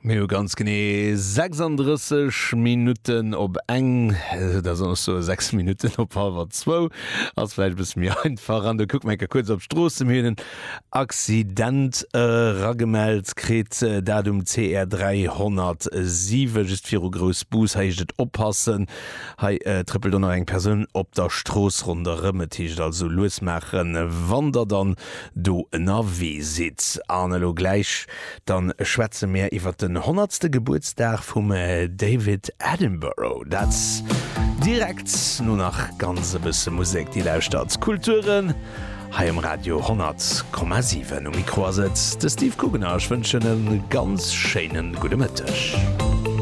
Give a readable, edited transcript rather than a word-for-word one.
Mir hu ganz genee 36 Minutten op eng, da soll ech soe 6 Minutten op hallwer zwou, ass vläicht e bësse méi einfach. An do kucke mer eng Kéier kuerz op d'Stroosse. Mir hunn en Accident eragemellt kritt, dat um CR 307, just viru Groussbus. Hei heescht et oppassen, hei trëppelt och nach eng Persoun op der Strooss ronderëm. Et heescht also lues maachen, wann der dann do ënnerwee sidd. An elo gläich dann schwätze mir iwwer den honnertste Gebuertsdag vum David Attenborough. Dat direkt no nach ganz e bësse Musek. Dir lauschtert Kulturen hei um Radio 100,7. Um Mikro ass et de Steve Kugener. Ech wënschen e ganz schéine gudde Mëtteg.